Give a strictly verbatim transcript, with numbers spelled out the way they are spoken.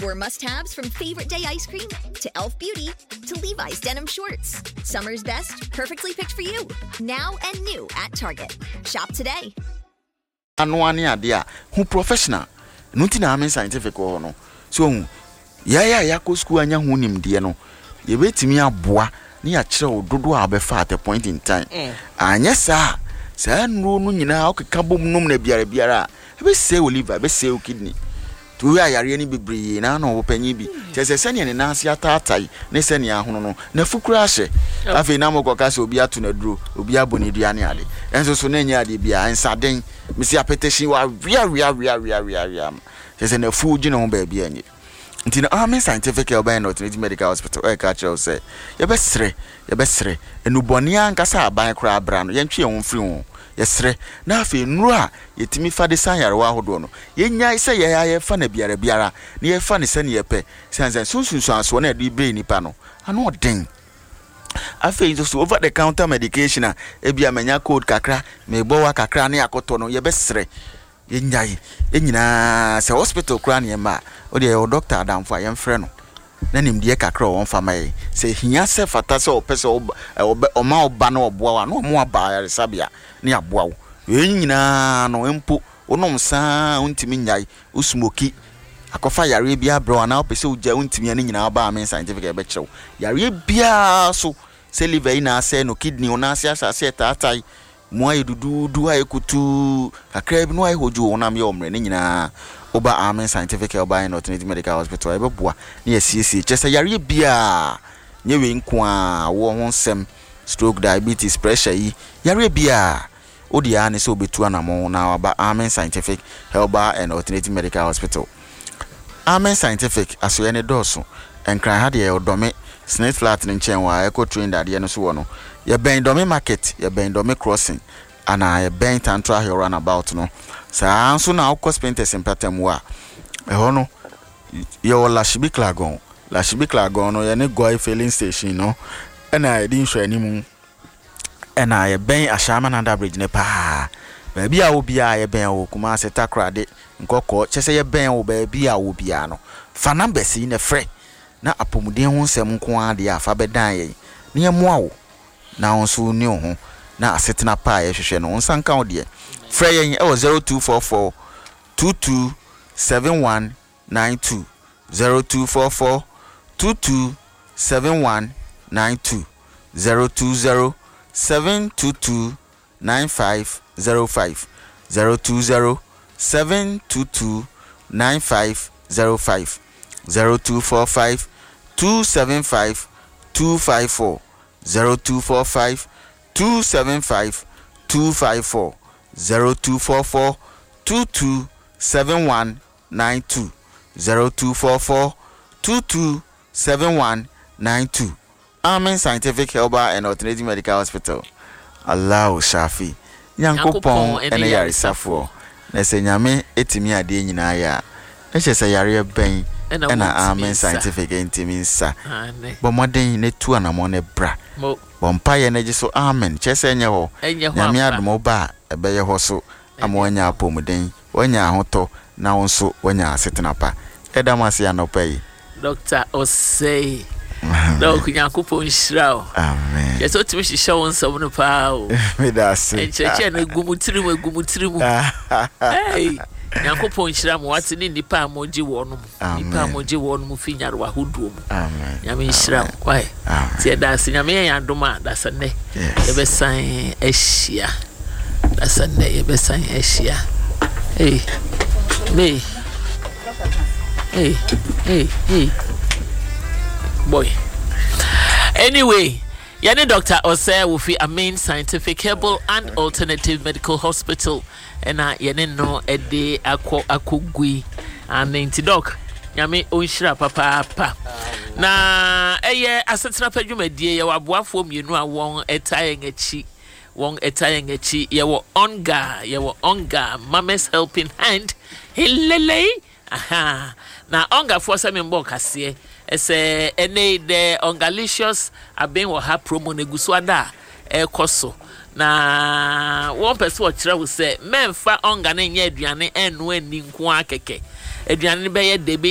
Score must haves from Favorite Day ice cream to Elf Beauty to Levi's denim shorts. Summer's best, perfectly picked for you. Now and new at Target. Shop today. Anoa ne adeɛ a hu professional no nti na Amen Scientific wɔ hɔ no. So ohu yɛayɛ a yɛakɔ sukuu anya ho nimdeɛ no, yɛbɛtumi aboa ne yɛakyerɛ wo dodoɔ a wobɛfa at a point in time. Anyɛ saa a, saa nnuro no nyinaa wokeka bom nom no biara biara a, ɛbɛsɛe wo liver, ɛbɛsɛe wo kidney. Nti wohwɛ a, yareɛ no bebree na na ɔwɔ panyin bi kyerɛ sɛ sɛnea ne nan ase ataatae ne sɛnea ahono no n'afu koraa hyɛ. Afei na mokɔka sɛ obi ato n'aduro, obi abɔ ne dua ne ade, ɛnso so na ɛnyɛ adeɛ biara. Nsaden mesi apɛtɛhyin waweaweaweaweaweawea kyerɛ sɛ n'afu gye ne ho baabi a ɛnyɛ. Nti no Amen Scientific Herbal and Alternative Medical Hospital ɛka kyerɛ wo sɛ yɛbɛsrɛ yɛbɛsrɛ nnubɔne ankasa aban koraa bra no, yɛntwe yɛn ho mfiri ho. Yɛsrɛ na afei nnuro a yɛtumi fa de san yarewa ahodoɔ no, yɛnyae sɛ yɛyɛ yɛfa no biara biara na yɛfa no sɛne yɛpɛ, sɛne sɛ sunsunsuansoɔ no a yɛde brɛ nipa no ano ɔden. Afei nso so over the counter medication a ebi a manya cold kakra, mebɔ wa kakra ne akɔtɔ no, yɛbɛsrɛ yɛnyae. Yɛn nyinaa sɛ hospital koraa ne yɛmma a, wode yɛwɔ doctor adamfo a yɛmfrɛ no na nimdeɛ kakra a ɔwɔ mfa ma yɛn. Sɛ hia sɛ fata sɛ ɔpɛ sɛ ɔma ɔba na ɔboa wo a, na ɔmo aba ayaresabea ne aboa wo. Wei nyinaa no mpo, wonom saa wontumi nyae, wo smoke akɔfa yareɛ bi abrɛ wo anaa wopɛ sɛ wogya wontumi a, ne nyinaa ba Amen Scientific a, yɛbɛkyerɛ wo yareɛ biara so, sɛ liver yi na asɛe no, kidney wo nan ase ahyɛ aseɛ taatae mu ayɛ duduudu, ayɛ kutuu kakra bi na wayɛ hodwo, honam yɛ ɔmmerɛ, ne nyinaa woba Amen Scientific Herbal and Alternative Medical Hospital a, yɛbɛboa ne yɛsiesie. Kyerɛ sɛ yareɛ biara nyɛ wei nko a wɔ ho nsɛm, stroke, diabetes, pressure yi, yareɛ biara wode a ne sɛ wobɛtu anammɔn na waba Amen Scientific Herbal and Alternative Medical Hospital. Amen Scientific asoɛ ne dɔɔso. Nkran ha deɛ, yɛwɔ Dɔme Snake Flat no nkyɛn wɔ a ɛkɔ train dadeɛ no so wɔ no. Yɛbɛn Dɔme Market, yɛbɛn Dɔme Crossing anaa yɛbɛn Tantra Hill roundabout no. Saa nso na wokɔ Spintex mpatamu a, ɛhɔ no yɛwɔ Lashibi Klagon. Lashibi Klagon no, yɛne Goil Filling Station no ɛna yɛde nhwɛanimu, ɛna yɛbɛn Ashaiman Under Bridge ne paa. Baabi a wo biara yɛbɛn wɔ Kumase, Takoradi, Nkɔkɔɔ, kyɛ sɛ yɛbɛn wo baabi a wo biara no. Fa numbers yi na frɛ na apɔmuden ho nsɛm nko ara deɛ a, fa bɛdan yɛn na yɛmmoa wo na wo nso ni wo ho na asetena pa a yɛhwehwɛ no wo nsa nka wo deɛ. Frɛ yɛn ɛwɔ zero two four four two two seven one nine two, zero two four four two two seven one nine two, zero two zero seven two two nine five zero five, zero two zero seven two two nine five zero five, zero two four five two seven five two five four, zero two four five two seven five two five four, zero two four four two two seven one nine two, zero two four four two two seven one nine two. Amen Scientific Herbal and Alternative Medical Hospital. Allahu Shafi. Nyankopɔn ɛne yaresafoɔ. Na sɛ Nyame etimi adeɛ nyinaa yɛ a, na kyerɛ sɛ yareɛ bɛn ɛna Amen Scientific ntimi nsa? Bɔ mmɔden na tu anammɔn na bra. Bɔ mpaeɛ na gye so amen. Kyerɛ sɛ ɛnyɛ hɔ. Nyame adom wo ba a, ɛbɛyɛ hɔ so ama woanya apɔmuden, woanya ahotɔ na wo nso woanya asetena pa. Ɛda mo ase anɔpa yi. Doctor Osei, Doc, Nyankopɔn nhyira wo. Amen. Kyerɛ sɛ wotumi hyehyɛ wo nsɛm no paa o. Meda ase. Nkyerɛkyerɛ no egu mu tiri mu, egu mu tiri mu. Hey, Nyankopɔn nhyira mo wate, ne nnipa a mogye wɔn mu, nnipa a mogye wɔn mu fi nyarewa ahodoɔ mu. Amen. Nyame nhyira wo wae. Nti ɛda ase. Nyame yɛ yɛn adom a, dasa nnɛ yɛbɛsan ahyia, dasa nnɛ yɛbɛsan ahyia. Hey, me, hey, hey, hey boy. Anyway, yɛne Doctor Osei wofi Amen Scientific Herbal and Alternative Medical Hospital ɛna yɛne no ɛde akɔ akɔgui ane. Nti Doc, Nyame ɔnhyira papaapa. Na ɛyɛ Asetena Pa dwumadie. Yɛwɔ aboafoɔ mmienu a wɔn ɛta yɛn akyi, wɔn ɛta yɛn akyi. Yɛwɔ Onga, yɛwɔ Onga Mama's Helping Hand helele aha. Na Ongafoɔ sɛ membɔ kaseɛ ɛsɛ ɛnɛ the Ongalicious abɛn wɔ ha promo no egu so ada a ɛrekɔ so, na wɔn pɛ sɛ wɔkyerɛ wo sɛ mɛnfa Onga no nyɛ aduane ɛnno ani nko ara kɛkɛ. Aduane no bɛyɛ de.